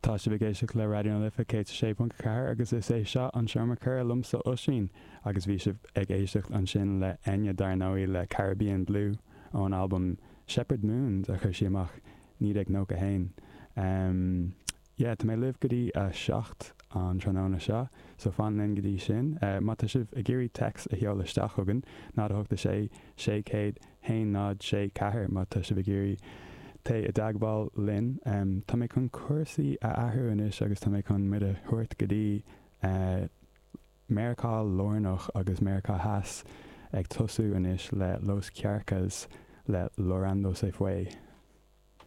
Tá sibh ag éisteacht le Raidió na Life 106.4 agus is é seo an Seomra Comhrá liomsa Oisín agus bhí sibh ag éisteacht ansin le Enya dar ndóigh le Caribbean Blue ón albam Shepherd Moons a chuir sí amach 1991. Em yeah tá mé libh go dtí a 7 an tráthnóna seo so fan linn go dtí sin. Má tá sibh ag iarraidh text a sheoladh isteach chugainn 0 8 6 600 1 0 6 4 má tá sibh ag iarraidh téigh i dteagmháil linn. Tá mé chun cúrsaí a athrú anois agus tá mé chun muid a thabhairt go dtí Meiriceá Lárnach agus Meiriceá Theas ag tosú anois le Los Kjarkas le Llorando Se Fue.